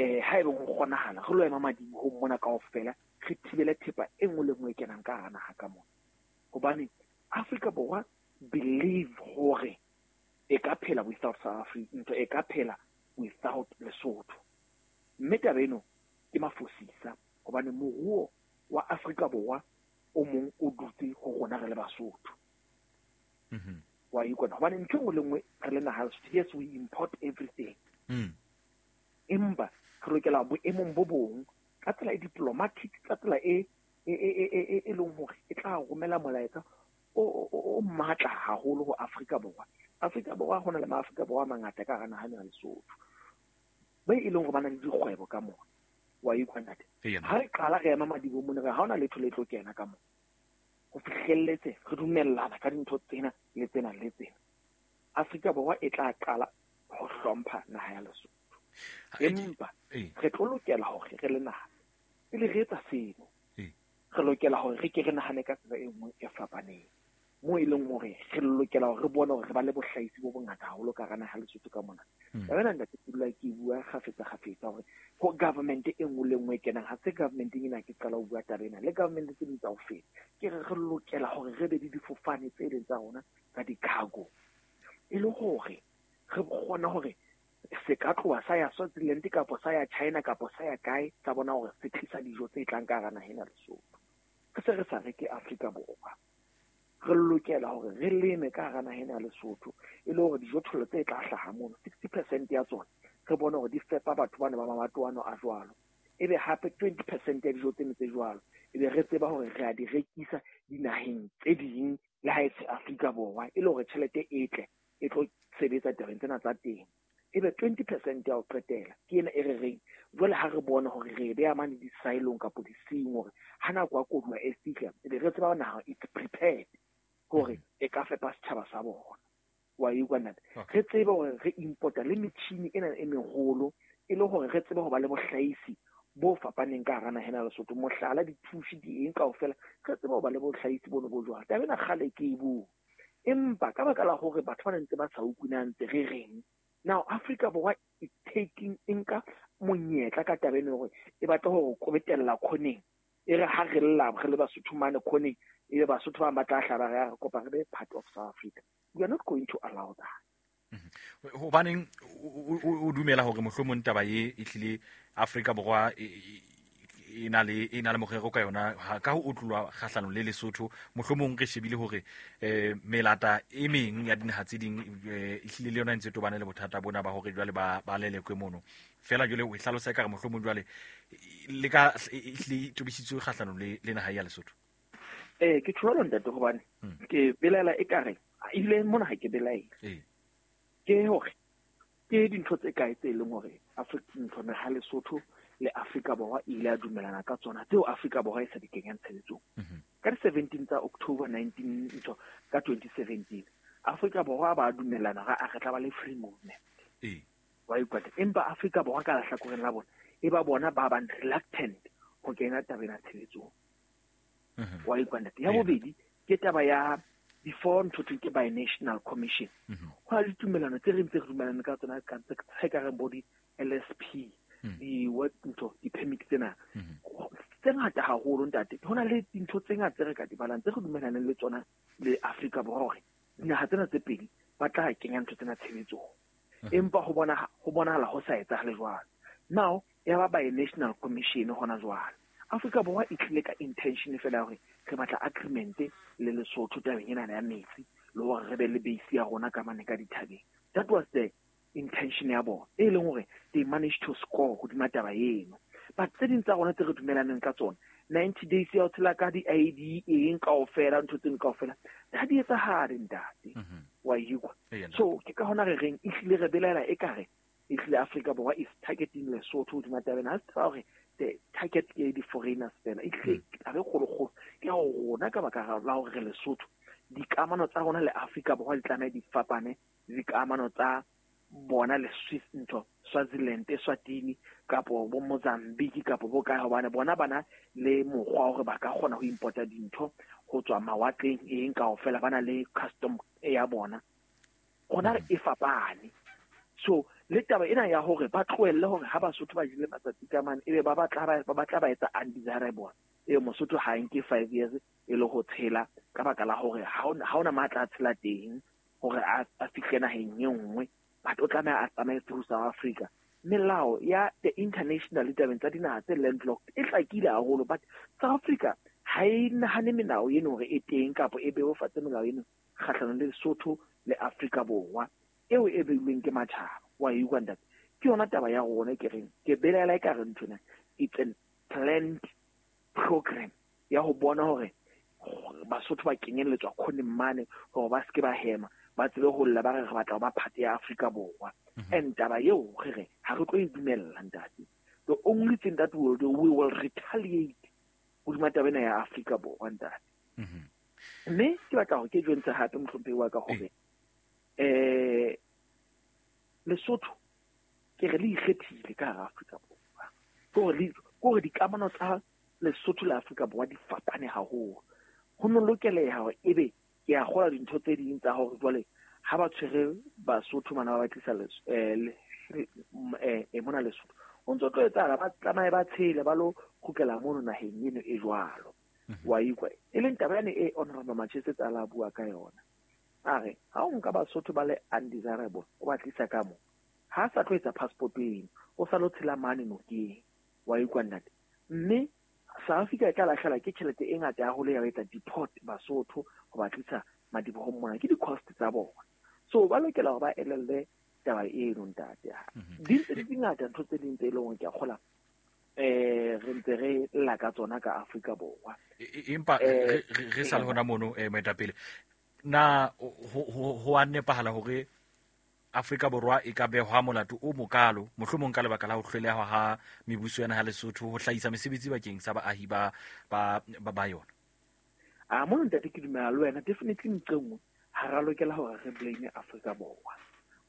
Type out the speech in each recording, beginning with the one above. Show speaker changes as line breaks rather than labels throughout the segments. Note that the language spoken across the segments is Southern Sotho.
Haeba ho kgonahala, re lo ema madibohong mona kaofela, re thibele thepa e nngwe le nngwe e kenang ka hara naha ka mona. Hobane Afrika Borwa believe hore e ka phela without South Africa, ntho e ka phela without Lesotho. Mme taba eno ke mafosisa hobane moruo wa Afrika Borwa o mong o dutse ho rona re le Basotho. Wa ikona hobane ntho e nngwe le nngwe re le naha Lesotho, yes, we import everything. Empa re lokela boemong bo bong ka tsela e diplomatic, ka tsela e leng hore e tla romela molaetsa o matla haholo ho Afrika Borwa. Afrika Borwa ho na le maAfrika Borwa a mangata ka hara naha ya Lesotho be e leng hore ba na le dikgwebo ka mona. Wa utlwa, ntate? Ha re qala re ema madibohong mona, re ha hona letho le tlo kena ka mona ho fihlelletse re dumellana ka dintho tsena le tsena le tsena. Afrika Borwa e tla qala ho hlompha naha ya Lesotho. Empa re tlo lokela hore re le naha pele re etsa seno, re lokela hore re ke re nahane ka tsela e nngwe e fapaneng, moo e leng hore re lokela hore re bone hore re ba le bohlahisi bo bongata haholo ka hara naha ya Lesotho ka mona. Taba ena, ntate, ke dula ke bua kgafetsa kgafetsa hore ho government e nngwe le nngwe e kenang, ha se government ena ke qala ho bua taba ena, le government tse ding tsa ho feta, ke re re lokela hore re be le difofane tse leng tsa rona tsa di-cargo, e le hore re kgone hore se ka tloha sa ya Swaziland kapa sa ya China kapa sa ya kae, sa bona hore se tlisa dijo tse tlang ka hara naha ena Lesotho. Re se re sa reke Afrika Borwa. Re lokela hore re leme ka hara naha ena ya Lesotho, e le hore dijothollo tse tla hlaha mono, 60% ya tsona re bone hore di fepa batho bana ba mabatoano a jwalo. Ebe hape 20% ya dijo tseno tse jwalo, ebe re tseba hore re a di rekisa dinaheng tse ding le ha e se Afrika Borwa, e le hore tjhelete e tle e tlo sebetsa tabeng tsena tsa temo. Ebe 20% ya ho qetela ke ena e re reng jwale ha re bona hore re e beha mane di-silong kapo di-seeing, hore ha nako ya koduwa e fihla, ebe re tseba naha it's prepared hore e ka fepa setjhaba sa bona. Wa utlwa, ntate? Re tsebe hore re importa le metjhini ena e meholo, e le hore re tsebe ho ba le bohlahisi bo fapaneng ka hara naha ena ya Lesotho. Mohlala, dithushi, di eng kaofela, re tsebe ho ba le bohlahisi bono bo jwalo. Taba ena kgale ke e bua, empa ka baka la hore batho ba ne ntse ba sa utlwe na ntse re reng. Now Afrika Borwa e taking, e nka monyetla ka taba ena hore e batla hore kobetella khoneng, e re ha re lla re le Basotho mane khoneng, ebe Basotho ba bang ba tla hlaba re re kopa re be part of South Africa. We are not going to allow that.
Hobaneng o dumela hore mohlomong taba e e hlile Afrika Borwa e na le morero ka yona ka ho otlolwa kgahlanong le Lesotho? Mohlomong re shebile hore melata e meng ya dinaha tse ding e hlile le yona e ntse tobane le bothata bona ba hore jwale ba lelekwe mono fela. Jwale o e hlalosa ekare mohlomong jwale le ka e hlile e tobisitswe kgahlanong le naha ya Lesotho.
Ke tjho ntate, hobane ke belaela ekare ebile mona ha ke belaele. Ke hore ke dintho tse kae tse leng hore Afrika ntho naha Lesotho le Afrika Borwa e ile a dumellana ka tsona tseo Afrika Borwa e sa di kenyang tshebetsong? Ka di-17 tsa October 19 ntho ka 2017, Afrika Borwa ba dumellana hore a re tla ba le free movement. Wa utlwa? Empa Afrika Borwa ka lehlakoreng la bona e ba bona ba bang reluctant ho kena tabeng ya tshebetsong. Wa utlwa, ntate? Ya bobedi ke taba ya before ntho thweng ke binational commission. Ho na le ditumellano tse re ntse re dumellane ka tsona ka tse ka reng bo di-LSP, di-work ntho, di-permit tsena tse ngata haholo, ntate. Ho na le dintho tse ngata tse re ka di balang tse re dumellaneng le tsona le Afrika Borwa hore dinaha tsena tse pedi ba tla kenya ntho tsena tshebetsong, empa ho bonahala ho sa etsahale jwalo. Now ya ba binational commission hona jwale, Afrika Borwa e tlile ka intention fela ya hore re batla agreement le Lesotho tabeng ena ya metsi, le hore re be le base ya rona ka mane ka dithabeng. That was the intention ya bona, e leng hore they managed to score hodima taba eno. But tse ding tsa rona tse re dumelaneng ka tsona, 90 days ya ho tshela ka di-ID, eng kaofela, ntho tseno kaofela ha di etsahale, ntate. Wa utlwa? So ke ka hona re reng ehlile re belaela ekare ehlile Afrika Borwa is targeting Lesotho hodima taba ena. Ha se taba hore the target ke di-foreigners fela, ehlile taba e kgolokgolo ke hore rona ka baka la hore re Lesotho, dikamano tsa rona le Afrika Borwa di tlameha di fapane le dikamano tsa bona le Swiss ntho Swaziland, Eswatini kapo bo Mozambique kapo bo kae, hobane bona bana le mokgwa hore ba ka kgona ho importa dintho ho tswa mawatleng, eng kaofela, ba na le custom ya bona. Rona e fapane. So le taba ena ya hore ba tlohelle hore ha Basotho ba jele matsatsi ka mane, ebe ba batla ba etsa undesirable. E Mosotho ha nke 5 years e le ho tshela ka baka la hore ha ona matla a tshela teng hore a fihle naheng e nngwe, but o tlameha a tsamaye through South Africa. Melao ya the international ditabeng tsa dinaha tse landlocked e hlakile haholo, but South Africa ha e nahane melao eno hore e teng kapa e bebofatse melao eno kgahlanong le Lesotho le Afrika Borwa eo e beilweng ke matjhaba. Wa e utlwa ntate? Ke yona taba ya rona ke reng ke belaela e ka re nthwena it's a planned program ya ho bona hore Basotho ba kenyelletswa khoneng mane hore ba seke ba hema, ba tsebe ho lla ba re re batla ho ba part ya Afrika Borwa. And taba eo re re ha re tlo e dumella ntate. The only thing that we will do, we will retaliate hodima taba ena ya Afrika Borwa ntate. Mme ke batla hore ke jwentshe hape mohlomphehi wa ka hore Lesotho ke re le ikgethile ka hara Afrika Borwa. Ke hore dikamano tsa Lesotho le Afrika Borwa di fapane haholo. Ho no lokeleha hore ebe ke a kgola dintho tse ding tsa hore jwale ha ba tshwere Basotho bana ba tlisa mona Lesotho, o ntso tlo etsahala ba tsamaye ba tshele ba lo kgutlela mono naheng eno e jwalo. Wa ikwa e leng taba yane e Honorable Machese tsa la bua ka yona. A re ha o nka Basotho ba le undesirable o ba tlisa ka mo, ha sa tlo etsa passport eno, o sa lo tshela mane nokeng. Wa ikwa ntate? Mme South Africa e tla lahlehelwa ke tjhelete e ngata haholo ya ho etsa deport Basotho ho ba tlisa madibohong mona, ke di-cost tsa bona. So ba lokela hore ba elelle taba eno ntate. Di ntse di ngata ntho tse ding tse e leng hore ke a kgola re ntse re lla ka tsona ka Afrika Borwa.
Empa re sa le hona mono moetapele, na ho a nepahala hore Afrika Borwa e ka behwa molato o mokalo mohlomong ka lebaka la ho hloleha ha mebuso ya naha Lesotho ho hlahisa mesebetsi bakeng sa baahi ba ba ba yona?
A mono ntate ke dumela le wena, definitely nqe nngwe ha ra lokela hore re blame Afrika Borwa,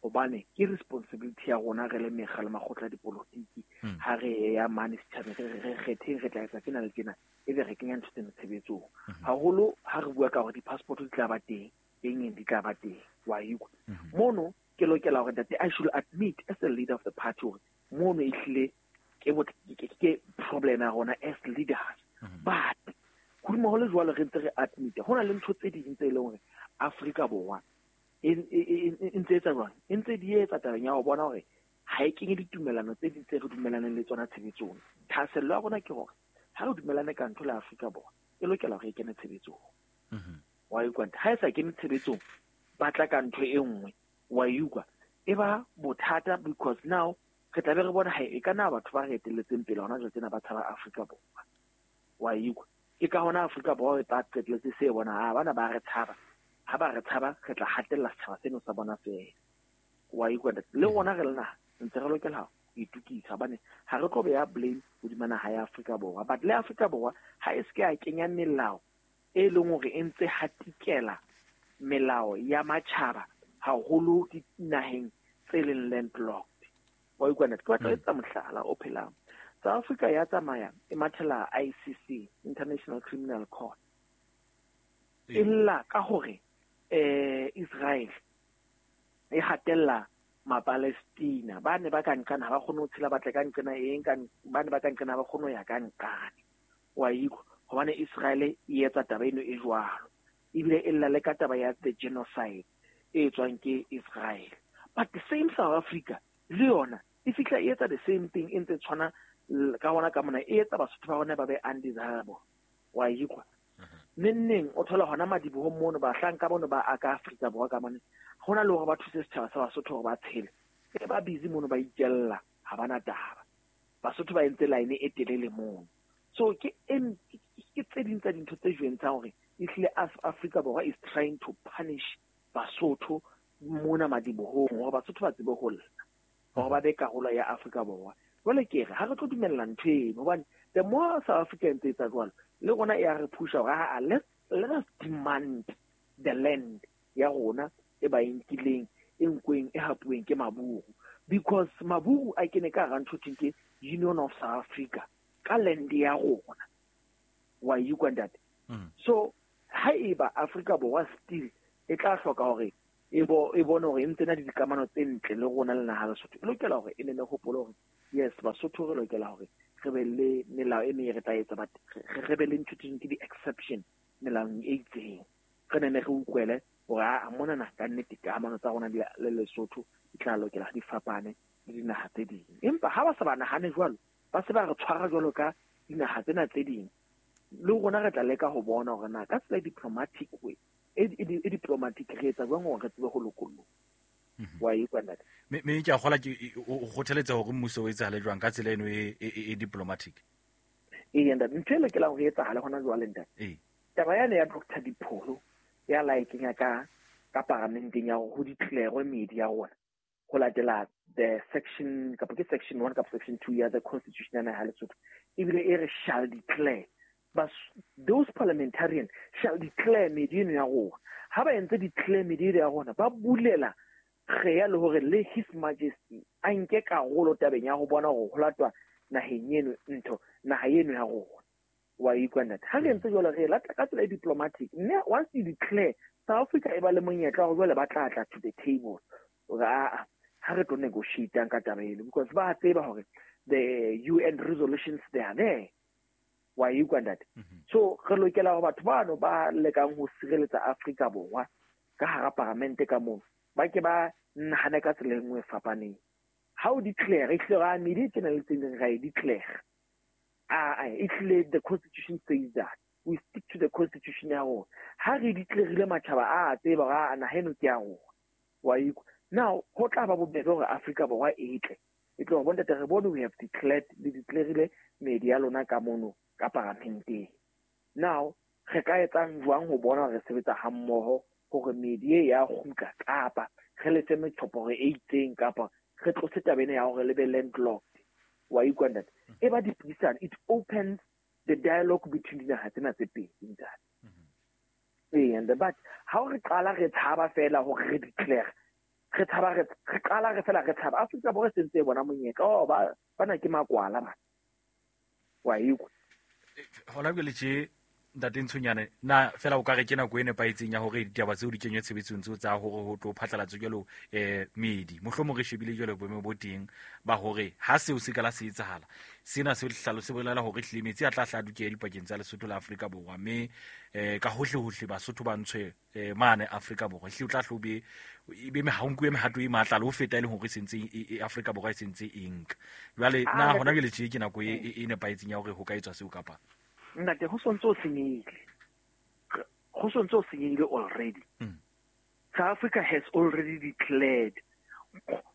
hobane ke responsibility ya rona re le mekga le makgotla a dipolotiki. Ha re ya mane setjhabeng re kgetheng re tla etsa tjena le tjena, ebe re kenya ntho tsena tshebetsong. Haholo ha re bua ka hore di-passport di tla ba teng, eng eng di tla ba teng, wa ikwa. Mono ke lokela hore ntate I should admit as a leader of the party hore mono ehlile ke problem ya rona as leaders. But hodimo ho le jwalo re ntse re admit ho na le ntho tse ding tse leng hore Afrika Borwa e ntse etsa jwang, e ntse di etsa tabeng ya ho bona hore ha e kenye ditumelano tse ding tse re dumelaneng le tsona tshebetsong. Thahasello ya rona ke hore ha re dumelane ka ntho le Afrika Borwa e lokela hore e kene tshebetsong. Wa utlwa? Ha e sa kene tshebetsong ba tla ka ntho e nngwe, wa utlwa, e ba bothata because now re tla be re bona ha e ka na batho ba re etelletseng pele hona jwale tsena ba tshaba Afrika Borwa. Wa utlwa? Ke ka hona Afrika Borwa e tla qetelletse se bona ha bana ba re tshaba, ha ba re tshaba re tla hatella setjhaba seno sa bona fela. Wa utlwa? Le rona re le naha ntse re lokela ho itukisa, hobane ha re tlo beha blame hodima naha ya Afrika Borwa. But le Afrika Borwa ha e se ke ya kenya melao e leng hore e ntse hatikela melao ya matjhaba haholo dinaheng tse leng landlocked. Wa utlwa ntate? Ke batla ho etsa mohlala o phelang. South Africa ya tsamaya e mathela ICC, International Criminal Court, e lla ka hore Israel e hatella Mapalestina ba ne ba ka nqana ha ba kgone ho tshela, ba tle ka nqena eng ka ba ne ba ka nqena ha ba kgone ho ya ka nqane. Wa utlwa? Hobane Israel e etsa taba eno e jwalo, ebile e lla le ka taba ya the genocide e etswang ke Israel. But the same South Africa le yona e fihla e etsa the same thing, e ntse tshwana ka hona ka mona, e etsa Basotho ba rona ba be undesirable. Wa utlwa? Neng o thola hona madibohong mono bahlanka bono ba aka Afrika Borwa ka mane, hona le hore ba thuse setjhaba sa Basotho hore ba tshele, e ba busy mono ba itjella, ha bana taba. Basotho ba entse line e telele mono. So ke tse ding tsa dintho tse jwentshang hore ehlile Afrika Borwa is trying to punish Basotho mona madibohong hore Basotho ba tsebe ho lla, hore ba be karolo ya Afrika Borwa. Jwale ke re ha re tlo dumella ntho eno, hobane the more South Africa e ntse etsa jwalo, le rona e a re pusha hore ha let us demand the land ya rona e ba e nkileng, e nkweng, e hapuweng ke Maburu, because Maburu a kene ka hara ntho thweng ke Union of South Africa ka land ya rona. Wa utlwa ntate? So haeba Afrika Borwa still e tla hloka hore e bone hore e ntse na le dikamano tse ntle le rona le naha Lesotho, e lokela hore e ne ne hopole hore yes, Basotho re lokela hore re be le melao e meng re tla etsa, but re be le ntho tse ke di-exception melaong e itseng. Re ne ne re utlwele hore a monana ka nnete kamano tsa rona le Lesotho di tla lokela di fapane le dinaha tse ding. Empa ha ba sa ba nahane jwalo, ba se ba re tshwara jwalo ka dinaha tsena tse ding, le rona re tla leka ho bona hore na ka tsela e diplomatic way, e diplomatic re etsa jwang hore re tsebe ho lokolloha. Wa e utlwa ntate?
Me ke a kgola ke o kgothaletsa hore mmuso o etsahale jwang ka tsela eno e diplomatic?
Ee, ntate, ntho e lokelang hore e etsahale hona jwale, ntate. Taba yane ya Dr. Dipholo ya la e kenya ka paramenteng ya hore ho declare meedi ya rona ho latela the section kapa ke section 1 kapa section 2 ya the constitution ya naha Lesotho, ebile e re shall declare, but those parliamentarians shall declare meedi eno ya rona. Ha ba entse declare meedi eno ya rona, ba bulela kgeya le hore le His Majesty a nke karolo tabeng ya ho bona hore ho latwa naheng eno ntho naha eno ya rona. Wa utlwa ntate? Ha re entse jwalo, re lata ka tsela e diplomatic, mme once you declare, South Africa e ba le monyetla hore jwale ba tla tla to the table hore aa ha re tlo negotiate ka taba eno, because ba tseba hore the UN resolutions, they are there. Wa utlwa ntate? So re lokela hore batho bano ba lekang ho sireletsa Afrika Borwa ka hara paramente ka moo, ba ke ba nahane ka tsela e nngwe e fapaneng. Ha o declare, ehlile ra meedi tjena le tse ding ra e declare. Ehlile the constitution says that we stick to the constitution ya rona. Ha re declarile, matjhaba a tseba hore a naha eno ke ya rona. Wa utlwa? Now ho tla ba bobebe hore Afrika Borwa e tle e tlo bontate re bone we have declared, le declarile meedi ya lona ka mono ka paramenteng. Now re ka etsang jwang ho bona hore re sebetsa hammoho hore meedi e ya kgutla, kapa re lefe metjhoporo e itseng, kapa re tlose taba ena ya hore le be landlocked? Wa utlwa ntate? E ba dipuisano, it opens the dialogue between dinaha tsena tse pedi, ntate. Ee, and but ha re qala re tshaba fela hore re declare, re tshaba, re qala re fela re tshaba, Afrika Borwa e sentse e bona monyetla, oh ba bana ke makwala bana. Wa utlwa?
Hona jwale tje, ntate Ntshonyane, na fela o ka re ke nako e nepahetseng ya hore ditaba tseo di kenywe tshebetsong tseo tsa hore ho tlo phatlalatswe jwalo meedi? Mohlomong re shebile jwalo boemo bo teng ba hore ha seo se ka la se etsahala, sena se hlalo se bolela hore ehlile metsi a tla hla dukeha dipakeng tsa Lesotho le Afrika Borwa, mme ka hohle hohle Basotho ba ntshwe mane Afrika Borwa. Ehlile o tla hlo be e be ha o nkuwe mehato e matla le ho feta e leng hore e sentse e Afrika Borwa e sentse e nka. Jwale na hona jwale tje ke nako e nepahetseng ya hore ho ka etswa seo kapa?
Ntate, ho sontso o senyehile. Ho sontso o senyehile already. South Africa has already declared.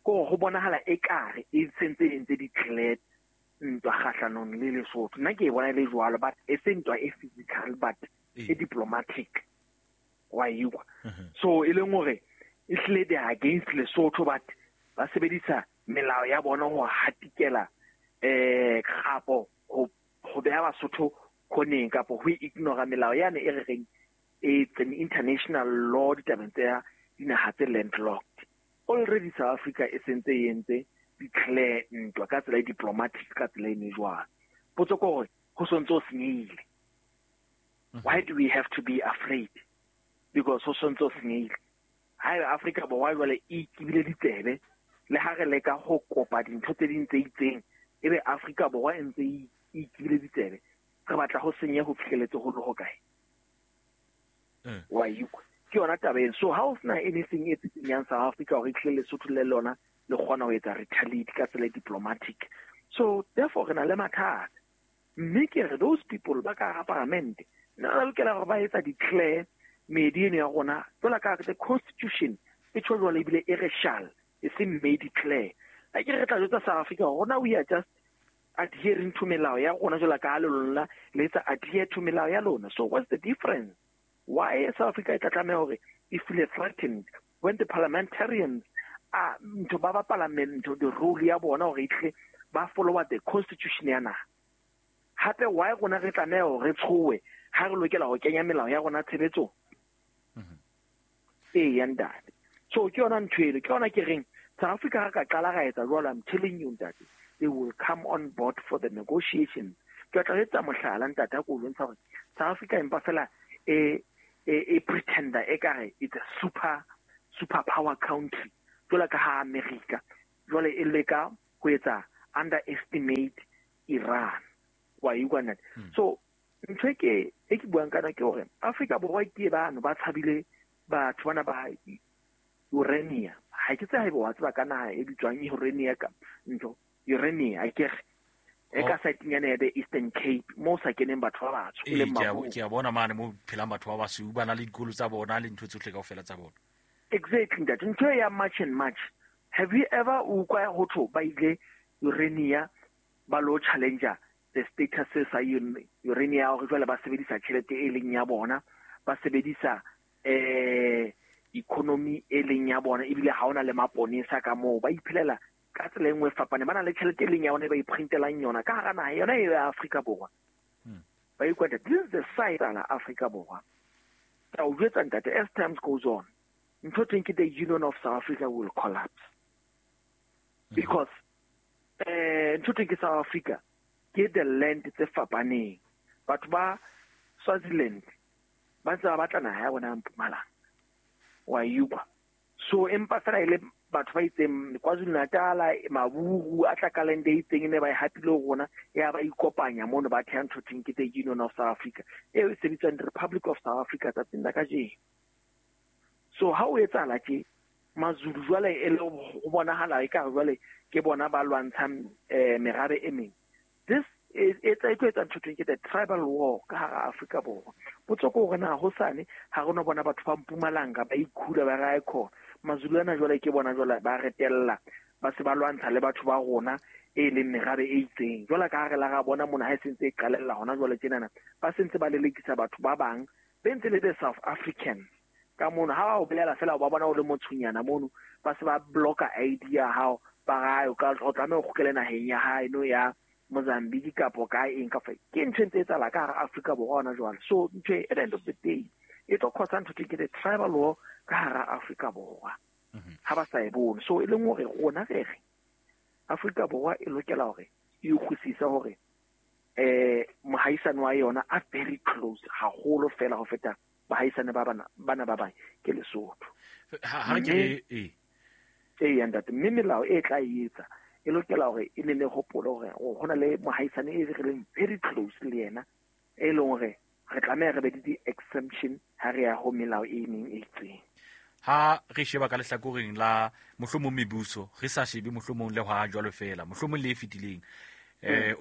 Ko ho bonahala ekare e sentse e ntse declared ntwa kgahlanong le Lesotho. Nna ke e bona e le jwalo, but e se ntwa e physical, but e diplomatic. Wa utlwa? So e leng hore ehlile they are against Lesotho, but ba sebedisa melao ya bona ho hatikela kgapo ho beha Basotho khoneng, kapa ho ignore melao yane e re reng it's an international law ditabeng tsa dinaha tse landlocked. Already South Africa e sentse e entse declare ntwa ka tsela e diplomatic, ka tsela e ne jwang. Potso ke hore ho sontso o senyehile. Why do we have to be afraid? Because ho sontso o senyehile. Haeba Afrika Borwa jwale e ikibile ditsebe, le ha re leka ho kopa dintho tse ding tse itseng, ebe Afrika Borwa e ntse e ikibile ditsebe, re batla ho senye ho fihleletse ho le ho kae? Wa utlwa? Ke yona taba eno. So ha ho sena anything e tsitsinyang South Africa hore ehlile Lesotho le lona le kgona ho etsa retaliate ka tsela e diplomatic. So therefore re na le mathata. Mme ke re those people ba ka hara paramente nna ba lokela hore ba etsa declare meedi eno ya rona jwalo ka the constitution e tjho jwalo, ebile e re shall, e seng may declare. Ha ke re tla jwetsa South Africa rona we are just adhering to melao ya rona jwalo ka ha le lona le etsa adhere to melao ya lona. So what's the difference? Why South Africa e tla tlameha hore e feel threatened when the parliamentarians are ntho ba bapala ntho the role ya bona hore e tle ba follow the constitution ya naha? Hape why rona re tlameha hore re tshowe ha re lokela ho kenya melao ya rona tshebetsong? Ee, ya ntate. So ke yona ntho eno, ke yona ke reng South Africa ha ka qala ra etsa jwalo, I'm telling you ntate, they will come on board for the negotiations. Ke tla etsa mohlala ntate, ha ko bontsha hore South Africa empa fela e pretender ekare it's a super superpower country jwalo ka ha America jwale e leka ho etsa underestimate Iran. Wa utlwa ntate? So ntho e ke buang kana ke hore Afrika Borwa ke bano ba tshabile batho bana ba Urania. Ha ke tsebe haeba wa tseba ka naha e bitswang Urania ka ntho Urania akere e ka site nyana ya the Eastern Cape mo sa keneng batho ba batsho e leng maburu.
Ke a bona mane mo phelang batho ba basweu, ba na le dikolo tsa bona le ntho tsohle kaofela tsa bona.
Exactly ntate, ntho ya March and March. Have you ever utlwa ho thwe ba ile Urania ba lo challenger the status sa Urania hore jwale ba sebedisa tjhelete e leng ya bona, ba sebedisa economy e leng ya bona, ebile ha ona le maponesa ka moo, ba iphelela ka tsela e nngwe e fapaneng, ba na le tjhelete e leng ya bona e ba iprintelang yona ka hara naha yona e ya Afrika Borwa. Ba ikwa this is the side la Afrika Borwa. Ka o jwetsa ntate, as times goes on, ntho teng ke the Union of South Africa will collapse. Because ntho teng ke South Africa ke the land tse fapaneng. Batho ba Swaziland ba ntse ba batla naha ya bona ya Mpumalanga. Wa utlwa. So empa fela ile batho ba itseng KwaZulu Natal, Maburu a tla ka land e itseng ne ba e hapile ho rona, ya ba ikopanya mono ba theha ntho thweng ke the Union of South Africa eo e sebitswang the Republic of South Africa tsatsing la kajeno. So ha o etsahala tje Mazulu jwale e le ho bonahala ekare jwale ke bona ba lwantshang merabe e meng. This e tla e tlo etsa ntho thweng ke the tribal war ka hara Afrika Borwa. Potso ke hore na hosane ha re no bona batho ba Mpumalanga ba ikhula ba re khona Mazulu ana jwale ke bona jwale ba retella ba se ba lwantsha le batho ba rona e leng merabe e itseng. Jwale ka ha re la ra bona mona ha e sentse e qalella hona jwale tjenana ba sentse ba lelekisa batho ba bang be ntse le the South Africans ka mono. Ha ba o bolela fela ba bona o le motshonyana mono ba se ba blocka ID ya hao, ba ra o ka o tlameha o kgutlele naheng ya hae no ya Mozambique kapo ka eng ka fa. Ke ntho e ntse e etsahala ka hara Afrika Borwa hona jwale. So ntho e at the end of the day e tlo cause ntho ke the tribal war ka hara Afrika Borwa. Ha ba sa e bone. So e leng hore rona re re Afrika Borwa e lokela hore e utlwisise hore mohaisane wa yona a very close haholo fela ho feta bahaisane ba bana ba bang ke Lesotho.
Ha ke e
e ntate, mme melao e tla etsa e lokela hore e ne hopole hore ho na le mohaisane e re leng very close le yena e leng hore re tlameha re be le di-exemption ha re ya ho melao e meng e itseng.
Ha re sheba ka lehlakoreng la mohlomong mebuso, re sa shebe mohlomong le hwa jwalo fela, mohlomong le e fetileng,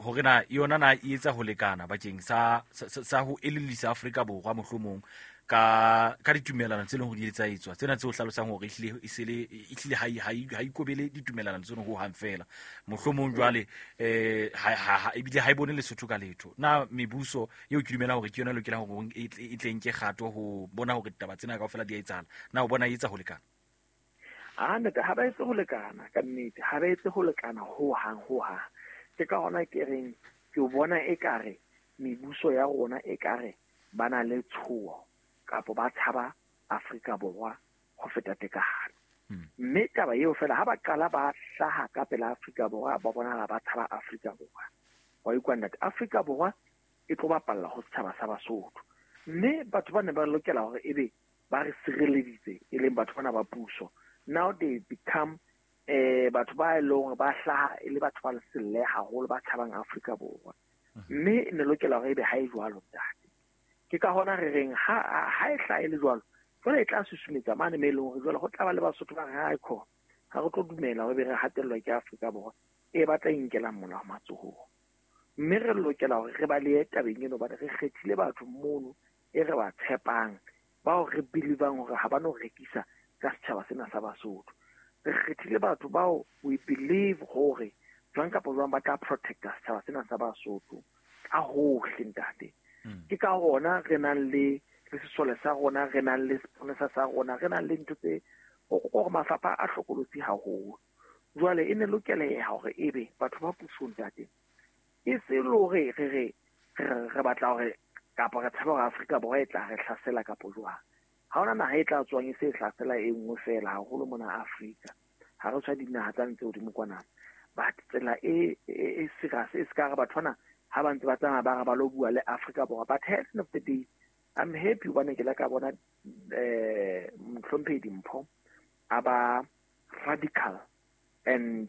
hore na yona na e etsa ho lekana bakeng sa ho elellisa Afrika Borwa mohlomong ka ditumelano tse leng hore di etsa etswa tsena tse o hlalosang hore ehlile e sele ehlile ha ikobele ditumelano tseno ho hang fela mohlomong jwale ha ebile ha e bone Lesotho ka letho. Na mebuso eo ke dumela hore ke yona e lokelang hore e tle nke kgato ho bona hore ditaba tsena kaofela di a etsahala, na o bona e etsa ho lekana?
A ntate, ha ba etse ho lekana ka nnete, ha ba etse ho lekana ho hang ho hang. Ke ka hona ke reng ke bona ekare mebuso ya rona ekare ba na le tshoho kapo ba tshaba Afrika Borwa ho feta tekano. Mme taba eo fela ha ba qala ba hlaha ka pela Afrika Borwa ba bonahala ba tshaba Afrika Borwa. Wa utlwa ntate, Afrika Borwa e tlo bapalla ho setjhaba sa Basotho. Mme batho ba ne ba lokela hore ebe ba re sireleditse e leng batho bana ba puso. Now they become batho ba e leng hore ba hlaha e le batho ba leselle haholo ba tshabang Afrika Borwa. Mme ne lokela hore ebe ha e jwalo ntate. Ke ka hona re reng ha e hlaha e le jwalo, jwale e tla susumetsa mane me e leng hore jwale ho tla ba le Basotho ba re ha e khona, ha re tlo dumela hore be re hatellwa ke Afrika Borwa e batla e nkelang molao matsohong. Mme re lokela hore re balehe tabeng eno hobane re kgethile batho mono e re ba tshepang, bao re believang hore ha ba no rekisa ka setjhaba sena sa Basotho. Re kgethile batho bao we believe hore jwang kapa jwang ba tla protecta setjhaba sena sa Basotho ka hohle ntate. Ke ka hona re nang le sesole sa rona, re nang le seponesa sa rona, re nang le ntho tse hore mafapha a hlokolotsi haholo. Jwale e ne lokeleha hore ebe batho ba pusong ntate e se le hore re re batla hore kapa re tshaba hore Afrika Borwa e tla re hlasela kapo jwang. Ha hona naha e tla tswang e se hlasela e nngwe fela haholo mona Afrika. Ha re tshwa dinaha tsa ntse hodimo kwana. But tsela e serious e ska re batho bana ha ba ntse ba tsamaya ba re ba lo bua le Afrika Borwa. But at the end of the day, I'm happy hobane ke la ka bona Mohlomphehi Dimpho A ba radical and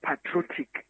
patriotic.